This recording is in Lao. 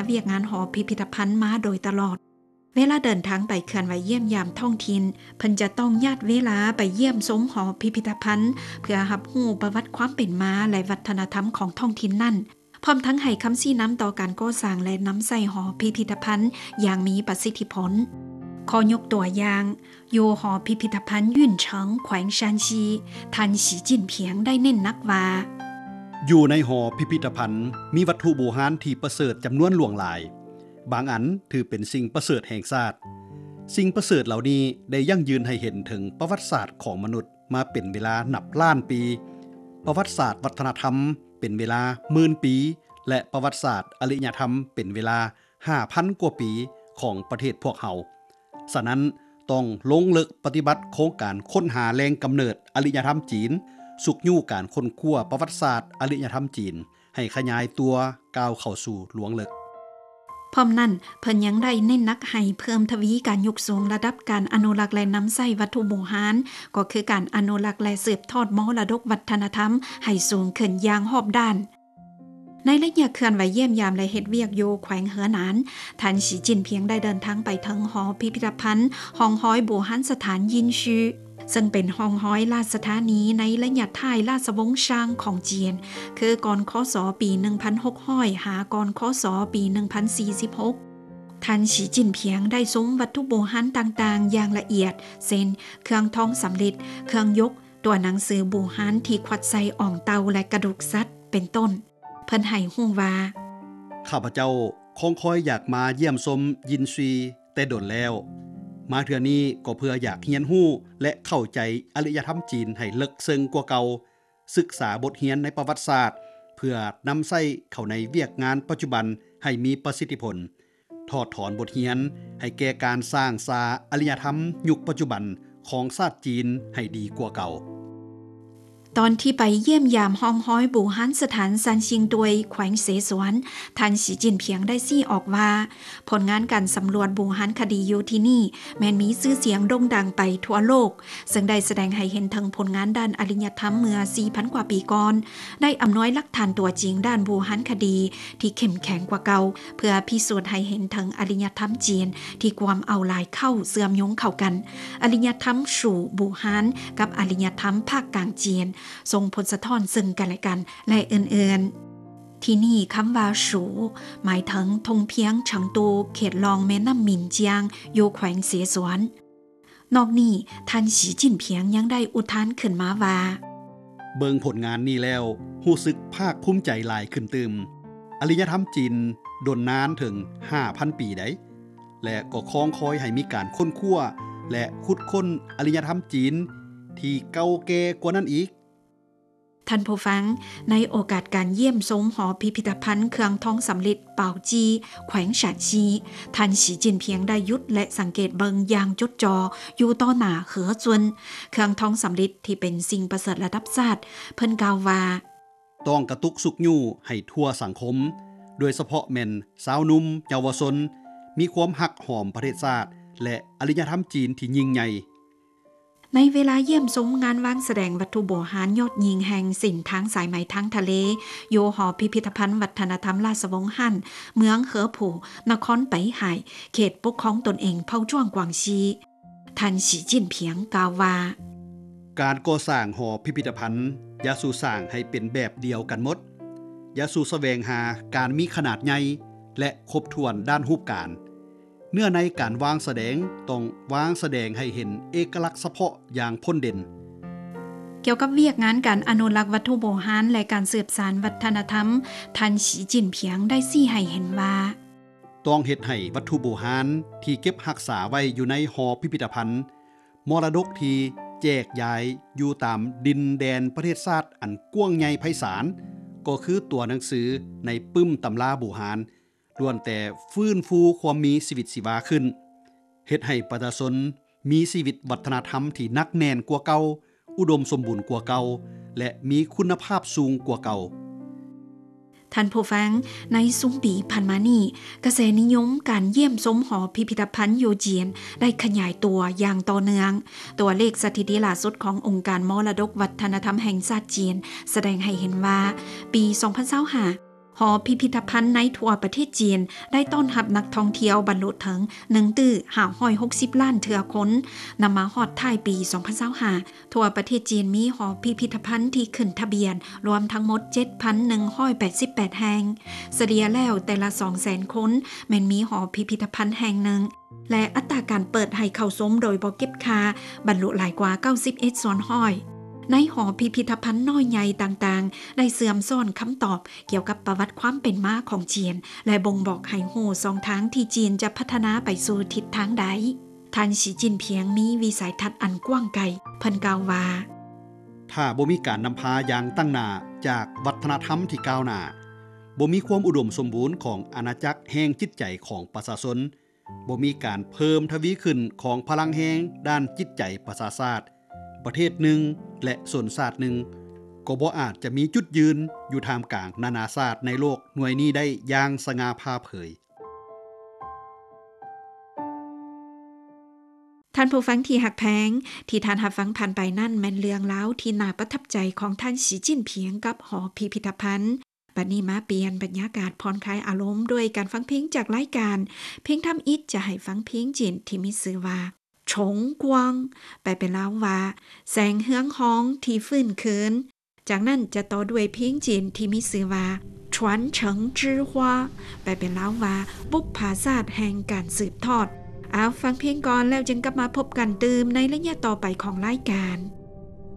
ວຽກງານຫໍພິພິທະພັນມາໂດຍຕະຫຼອດ. ເວລາເດີນທາງໄປເຄື່ອນໄຫວຢ້ຽມຢາມທ້ອງຖິ່ນ, ເພິ່ນຈະຕ້ອງຍາດເວລາໄປຢ້ຽມຊົມຫໍພິພິທະພັນ ເພື່ອຮັບຮູ້ປະຫວັດຄວາມເປັນມາ ແລະ ວັດທະນະທຳຂອງທ້ອງຖິ່ນນັ້ນ, ພ້ອມທັງໃຫ້ຄຳຊີ້ນຳຕໍ່ການກໍ່ສ້າງ ແລະ ນຳໃຊ້ຫໍພິພິທະພັນຢ່າງມີປະສິດທິຜົນ. ຂໍຍົກຕົວຢ່າງ, ຢູ່ຫໍພິພິທະພັນຫຍຸ້ນເສີງ ແຂວງຊານຊີ, ທ່ານ ສີຈິ້ນຜິງ ໄດ້ເນັ້ນໜັກວ່າ, ຢູ່ໃນຫໍພິພິທະພັນມີວັດຖຸບູຮານທີ່ປະເສີດຈຳນວນຫຼວງຫຼາຍ, ບາງອັນຖືເປັນສິ່ງປະເສີດແຫ່ງຊາດ. ສິ່ງປະເສີດເຫຼົ່ານີ້ໄດ້ຢັ້ງຢືນໃຫ້ເຫັນເຖິງປະຫວັດສາດຂອງມະນຸດມາເປັນເວລານັບລ້ານປີ, ປະຫວັດສາດວັດທະນະທຳເປັນເວລາໝື່ນປີ ແລະ ປະຫວັດສາດອາລິຍະທຳເປັນເວລາ ຫ້າພັນກວ່າປີຂອງປະເທດພວກເຮົາ. ສະນັ້ນ, ຕ້ອງລົງເລິກປະຕິບັດໂຄງການຄົ້ນຫາແຫຼ່ງກຳເນີດອາລິຍະທຳຈີນ, ຊຸກຍູ້ການຄົ້ນຄວ້າປະຫວັດສາດອາລິຍະທຳຈີນໃຫ້ຂະຫຍາຍຕົວກ້າວເຂົ້າສູ່ລວງເລິກ. ພ້ອມນັ້ນ, ເພິ່ນຍັງໄດ້ເນັ້ນໜັກໃຫ້ເພີ່ມທະວີການຍົກສູງລະດັບການອະນຸລັກ ແລະ ນຳໃຊ້ວັດຖຸບູຮານ, ກໍຄືການອະນຸລັກ ແລະ ສືບທອດມໍລະດົກວັດທະນະທຳໃຫ້ສູງຂຶ້ນຢ່າງຮອບດ້ານ. ໃນໄລຍະເຄື່ອນໄຫວຢ້ຽມຢາມ ແລະ ເຮັດວຽກຢູ່ແຂວງເຮີໜານ, ທ່ານ ສີຈິ້ນຜິງ ໄດ້ເດີນທາງໄປເຖິງຫໍພິພິທະພັນຮ່ອງຮອຍບູຮານສະຖານຢິນຊີ, ເຊິ່ງເປັນຮ່ອງຮອຍລາຊະທານີໃນໄລຍະທ້າຍລາຊະວົງຊາງຂອງຈີນ, ຄືກ່ອນ ຄ.ສ. ປີໜຶ່ງພັນຫົກຮ້ອຍ ຫາ ກ່ອນ ຄ.ສ. ປີໜຶ່ງພັນສີ່ສິບຫົກ. ທ່ານ ສີຈິ້ນຜິງ ໄດ້ຊົມວັດຖຸບູຮານຕ່າງໆຢ່າງລະອຽດ, ເຊັ່ນ ເຄື່ອງທອງສຳລິດ, ເຄື່ອງຍົກ, ຕົວໜັງສືບູຮານທີ່ຂວັດໃສ່ອ່ອງເຕົ່າ ແລະ ກະດູກສັດ ເປັນຕົ້ນ. ເພິ່ນໃຫ້ຮູ້ວ່າ, ຂ້າພະເຈົ້າຄອງຄອຍຢາກມາຢ້ຽມຊົມຢິນຊີແຕ່ດົນແລ້ວ. ມາເທື່ອນີ້ກໍເພື່ອຢາກຮຽນຮູ້ ແລະ ເຂົ້າໃຈອາລິຍະທຳຈີນໃຫ້ເລິກເຊິ່ງກວ່າເກົ່າ, ສຶກສາບົດຮຽນໃນປະຫວັດສາດ ເພື່ອນຳໃຊ້ເຂົ້າໃນວຽກງານປັດຈຸບັນໃຫ້ມີປະສິດທິຜົນ. ຖອດຖອນບົດຮຽນໃຫ້ແກ່ການສ້າງສາອາລິຍະທຳຍຸກປັດຈຸບັນຂອງຊາດຈີນໃຫ້ດີກວ່າເກົ່າ. ຕອນທີ່ໄປຢ້ຽມຢາມຮ່ອງຮອຍບູຮານສະຖານຊານຊິງຕວຍ ແຂວງເສສວນ, ທ່ານ ສີຈິ້ນຜິງ ໄດ້ຊີ້ອອກວ່າ, ຜົນງານການສຳຫຼວດບູຮານຄະດີຢູ່ທີ່ນີ້ ແມ່ນມີຊື່ສຽງໂດ່ງດັງໄປທົ່ວໂລກ, ເຊິ່ງໄດ້ສະແດງໃຫ້ເຫັນເຖິງຜົນງານດ້ານອາລິຍະທຳເມື່ອສີ່ພັນກວ່າປີກ່ອນ, ໄດ້ອຳນວຍຫຼັກຖານຕົວຈິງດ້ານບູຮານຄະດີທີ່ເຂັ້ມແຂງກວ່າເກົ່າ, ເພື່ອພິສູດໃຫ້ເຫັນເຖິງອາລິຍະທຳຈີນທີ່ກວມເອົາຫຼາຍເຄົ້າເຊື່ອມໂຍງເຂົ້າກັນ, ອາລິຍະທຳຊູບູຮານກັບອາລິຍະທຳພາກກາງຈີນ, ສົ່ງຜົນສະທ້ອນເຊິ່ງກັນແລະກັນ ແລະ ອື່ນໆ. ທີ່ນີ້ຄຳວ່າຊູ ໝາຍເຖິງທົ່ງພຽງເສີງຕູ ເຂດລ່ອງແມ່ນ້ຳໝິນຈຽງ ຢູ່ແຂວງເສສວນ. ນອກນີ້, ທ່ານ ສີຈິ້ນຜິງ ຍັງໄດ້ອຸທານຂຶ້ນມາວ່າ, ເບິ່ງຜົນງານນີ້ແລ້ວ ຮູ້ສຶກພາກພູມໃຈຫຼາຍຂຶ້ນຕື່ມ. ອາລິຍະທຳຈີນດົນນານເຖິງຫ້າພັນປີໃດ໋ ແລະ ກໍຄອງຄອຍໃຫ້ມີການຄົ້ນຄວ້າ ແລະ ຂຸດຄົ້ນອາລິຍະທຳຈີນທີ່ເກົ່າແກ່ກວ່ານັ້ນອີກ. ທ່ານຜູ້ຟັງ, ໃນໂອກາດການຢ້ຽມຊົມຫໍພິພິທະພັນເຄື່ອງທອງສຳລິດ ປາວຈີ ແຂວງຊານຊີ, ທ່ານ ສີຈິ້ນຜິງ ໄດ້ຢຸດ ແລະ ສັງເກດເບິ່ງຢ່າງຈົດຈໍ່ຢູ່ຕໍ່ໜ້າເຮືອຈຸນ, ເຄື່ອງທອງສຳລິດທີ່ເປັນສິ່ງປະເສີດລະດັບຊາດ. ເພິ່ນກ່າວວ່າ, ຕ້ອງກະຕຸກຊຸກຍູ້ໃຫ້ທົ່ວສັງຄົມ, ໂດຍສະເພາະແມ່ນຊາວໜຸ່ມເຍົາວະຊົນ, ມີຄວາມຮັກຫອມປະເທດຊາດ ແລະ ອາລິຍະທຳຈີນທີ່ຍິ່ງໃຫຍ່. ໃນເວລາຢ້ຽມຊົມງານວາງສະແດງວັດຖຸໂບຮານຍອດຍິ່ງແຫ່ງເສັ້ນທາງສາຍໄໝທາງທະເລ ຢູ່ຫໍພິພິທະພັນວັດທະນະທຳລາຊະວົງຮັນ ເມືອງເຮີຜູ ນະຄອນໄປຫາຍ ເຂດປົກຄອງຕົນເອງເຜົ່າຈ້ວງກວາງຊີ, ທ່ານ ສີຈິ້ນຜິງ ກ່າວວ່າ, ການກໍ່ສ້າງຫໍພິພິທະພັນ ຢ່າສູ່ສ້າງໃຫ້ເປັນແບບດຽວກັນໝົດ, ຢ່າສູ່ສະແຫວງຫາການມີຂະໜາດໃຫຍ່ ແລະ ຄົບຖ້ວນດ້ານຮູບການ. ເນື້ອໃນການວາງສະແດງຕ້ອງວາງສະແດງໃຫ້ເຫັນເອກະລັກສະເພາະຢ່າງພົ້ນເດັ່ນ. ກ່ຽວກັບວຽກງານການອະນຸລັກວັດຖຸໂບຮານ ແລະ ການສືບສານວັດທະນະທຳ, ທ່ານ ສີຈິ້ນຜິງ ໄດ້ຊີ້ໃຫ້ເຫັນວ່າ, ຕ້ອງເຮັດໃຫ້ວັດຖຸໂບຮານທີ່ເກັບຮັກສາໄວ້ຢູ່ໃນຫໍພິພິທະພັນມໍລະດົກທີ່ແຈກຢາຍຢູ່ຕາມດິນແດນປະເທດຊາດອັນກວ້າງໃຫຍ່ໄພສານ, ກໍຄືຕົວໜັງສືໃນປຶ້ມຕຳລາບູຮານ, ລ້ວນແຕ່ຟື້ນຟູຄວາມມີຊີວິດຊີວາຂຶ້ນ, ເຮັດໃຫ້ປະຊາຊົນມີຊີວິດວັດທະນະທຳທີ່ໜັກແໜ້ນກວ່າເກົ່າ, ອຸດົມສົມບູນກວ່າເກົ່າ ແລະ ມີຄຸນນະພາບສູງກວ່າເກົ່າ. ທ່ານຜູ້ຟັງ, ໃນຊຸມປີຜ່ານມານີ້, ກະແສນິຍົມການຢ້ຽມຊົມຫໍພິພິທະພັນຢູ່ຈີນໄດ້ຂະຫຍາຍຕົວຢ່າງຕໍ່ເນື່ອງ. ຕົວເລກສະຖິຕິລ່າສຸດຂອງອົງການມໍລະດົກວັດທະນະທຳແຫ່ງຊາດຈີນ ສະແດງໃຫ້ເຫັນວ່າ, ປີສອງພັນຊາວຫ້າ, ຫໍພິພິທະພັນໃນທົ່ວປະເທດຈີນ ໄດ້ຕ້ອນຮັບນັກທ່ອງທ່ຽວບັນລຸເຖິງ ໜຶ່ງຕື້ຫ້າຮ້ອຍຫົກສິບລ້ານເທື່ອຄົນ. ນຳມາຮອດທ້າຍປີ ສອງພັນຊາວຫ້າ ທົ່ວປະເທດຈີນມີຫໍພິພິທະພັນທີ່ຂຶ້ນທະບຽນລວມທັງໝົດ ເຈັດພັນໜຶ່ງຮ້ອຍແປດສິບແປດແຫ່ງ. ສະເລ່ຍແລ້ວ ແຕ່ລະສອງແສນຄົນແມ່ນມີຫໍພິພິທະພັນແຫ່ງໜຶ່ງ ແລະ ອັດຕາການເປີດໃຫ້ເຂົ້າຊົມໂດຍບໍ່ເກັບຄ່າບັນລຸຫຼາຍກວ່າ ເກົ້າສິບເອັດສ່ວນຮ້ອຍ. ໃນຫໍພິພິທະພັນນ້ອຍໃຫຍ່ຕ່າງໆ ໄດ້ເຊື່ອມຊ້ອນຄຳຕອບກ່ຽວກັບປະຫວັດຄວາມເປັນມາຂອງຈີນ ແລະ ບົ່ງບອກໃຫ້ຮູ້ຊ່ອງທາງທີ່ຈີນຈະພັດທະນາໄປສູ່ທິດທາງໃດ. ທ່ານ ສີ ຈິ້ນຜິງ ມີວິໄສທັດອັນກວ້າງໄກ. ເພິ່ນກ່າວວ່າ ຖ້າບໍ່ມີການນຳພາຢ່າງຕັ້ງໜ້າຈາກວັດທະນະທຳທີ່ກ້າວໜ້າ, ບໍ່ມີຄວາມອຸດົມສົມບູນຂອງອານາຈັກແຫ່ງຈິດໃຈຂອງປະຊາຊົນ, ບໍ່ມີການເພີ່ມທະວີຂຶ້ນຂອງພະລັງແຮງດ້ານຈິດໃຈປະຊາຊາດ, ປະເທດໜຶ່ງ ແລະ ຊົນຊາດໜຶ່ງ ກໍບໍ່ອາດຈະມີຈຸດຢືນຢູ່ທ່າມກາງນານາຊາດໃນໂລກໜ່ວຍນີ້ໄດ້ຢ່າງສະຫງ່າຜ່າເຜີຍ. ທ່ານຜູ້ຟັງທີ່ຮັກແພງ, ທີ່ທ່ານຮັບຟັງຜ່ານໄປນັ້ນແມ່ນເລື່ອງລາວທີ່ໜ້າປະທັບໃຈຂອງທ່ານ ສີ ຈິ້ນຜິງ ກັບຫໍພິພິທະພັນ. ບັດນີ້ມາປ່ຽນບັນຍາກາດຜ່ອນຄາຍອາລົມດ້ວຍການຟັງເພງຈາກລາຍການ. ພຽງທຳອິດຈະໃຫ້ຟັງເພງຈີນທີ່ມີຊື່ວ່າ 重光 ແປເປັນລາວວ່າ ແສງເຮືອງຮອງທີ່ຟື້ນຄືນ. ຈາກນັ້ນຈະຕໍ່ດ້ວຍເພງຈີນທີ່ມີຊື່ວ່າ 传承之花 ແປເປັນລາວວ່າ ບຸບຜາຊາດແຫ່ງການສືບທອດ. ເອົາ, ຟັງເພງກ່ອນ ແລ້ວຈຶ່ງກັບມາພົບກັນຕື່ມໃນໄລຍະຕໍ່ໄປຂອງລາຍການ.